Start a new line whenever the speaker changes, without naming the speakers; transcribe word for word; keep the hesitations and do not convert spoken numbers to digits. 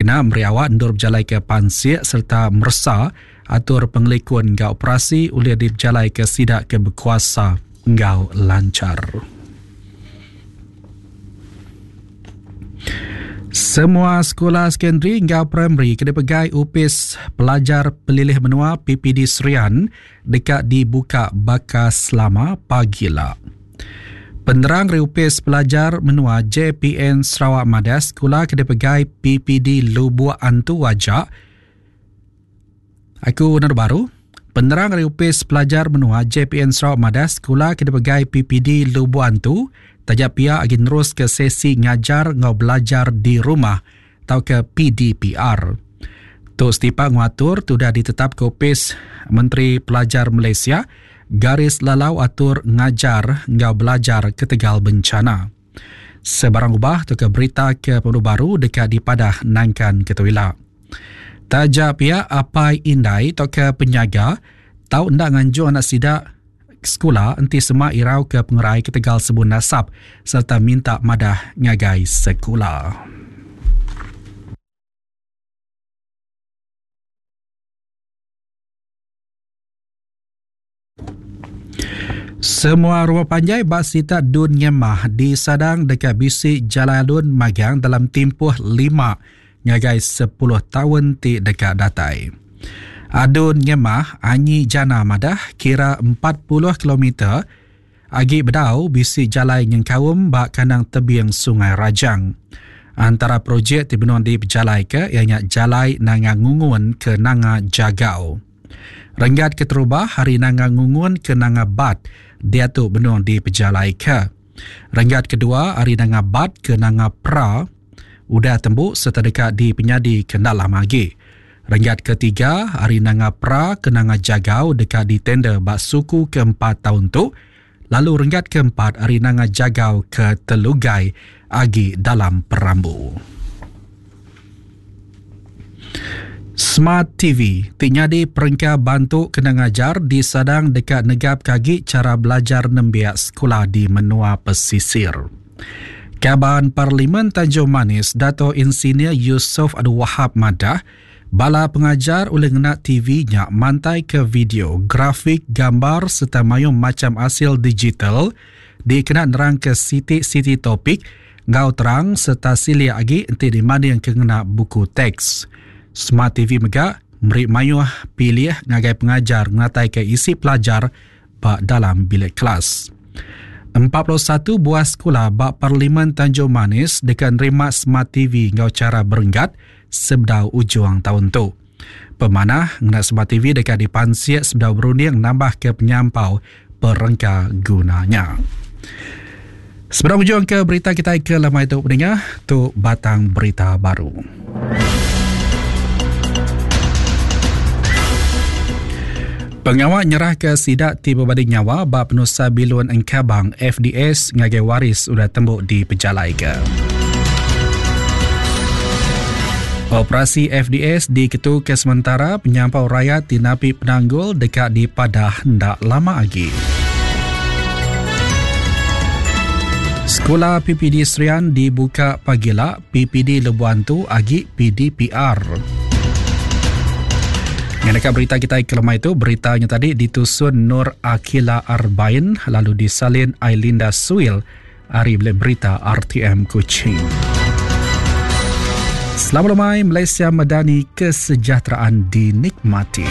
Dikena meri awak endur bejalai ke pansik serta meresa atur pengelikun enggau operasi ulih dipejalai ke sida ke berkuasa enggau lancar. Semua sekolah sekondari enggau primary ke dipegai Opis Pelajar Pelilih Menua P P D Serian deka dibuka baka selama pagila. Penerang dari Opis Pelajar Menua J P N Sarawak madah sekolah ke dipegai P P D Lubuk Antu aja. Aku naru baru. Penerang dari Opis Pelajar Menua J P N Sarawak madah sekolah ke dipegai P P D Lubuk Antu tajak pia agi nerus ke sesi ngajar ngau belajar di rumah atau ke P D P R. Tu setipak ngatur tu dah ditetap ke Opis Menteri Pelajar Malaysia garis lalau atur ngajar ngau belajar ketegal bencana. Sebarang ubah tu ke berita ke pemadu baru dekat di padah nangkan ketuila. Tajak pia apai indai atau ke penyaga tau ndak nganjung anak sidak sekolah enti sema irau ke pengerai ketegal sebun nasab serta minta madah ngagai sekolah. Semua rumah panjai bak sita Dun Ngemah disadang dekat bisi jalan alun magang dalam tempoh lima ngagai sepuluh tahun ti dekat datai. Adun Ngemah Anyi Jana madah kira empat puluh kilometer agi bedau bisi jalai nyengkaum bak kandang tebing Sungai Rajang. Antara projek ti benung dipejalai ke ianya jalai Nanga Ngungun ke Nanga Jagau. Renggat keterubah hari Nanga Ngungun ke Nanga Bat diatu benung dipejalai ke. Renggat kedua hari Nanga Bat ke Nanga Pra udah tembu serta dekat di penyadi ke dalam lagi. Renggat ketiga hari Nanga Pra ke Nanga Jagau dekat di tender bak suku keempat tahun tu. Lalu renggat keempat hari Nanga Jagau ke Telugai agi dalam perambu. Smart T V ti nyadi perengka bantu kena ngajar disadang dekat negap kagi cara belajar nembiak sekolah di menua pesisir. Kaban Parlimen Tanjung Manis Dato Insinyur Yusof Abdul Wahab madah bala pengajar oleh ngena T V nya mantai ke video, grafik, gambar serta mayung macam hasil digital dikena nerang ke siti-siti topik ngau terang serta silia agi enti dibanding ke ngena buku teks. Smart T V mega meri mayuh pilih ngagai pengajar ngatai ke isi pelajar ba dalam bilik kelas. empat puluh satu buah sekolah ba Parlimen Tanjung Manis dekat nerima Smart T V ngau cara berenggat sebedau ujung tahun tu. Pemanah ngena Smart T V dekat dipansiak sebedau berunding nambah ke penyampau perengka gunanya. Sebelum ujung ke berita kita ke lemai tu pendengar, tu batang berita baru. Pengawal nyerah ke sidak ti berbadi nyawa bab penusa bilun Engkabang F D S ngagai waris udah tembuk di pejalai ke. Operasi F D S diketu ke sementara penyampau rakyat di napi penanggul dekat di Padah ndak lama lagi. Sekolah P P D Serian dibuka pagila, P P D Lebuan tu agi P D P R. Mengenai berita kita ke lemai itu, beritanya tadi ditusun Nur Akila Arbain lalu disalin Ailinda Suil ari bilik berita R T M Kuching. Selamat lemai, Malaysia Madani, kesejahteraan dinikmati.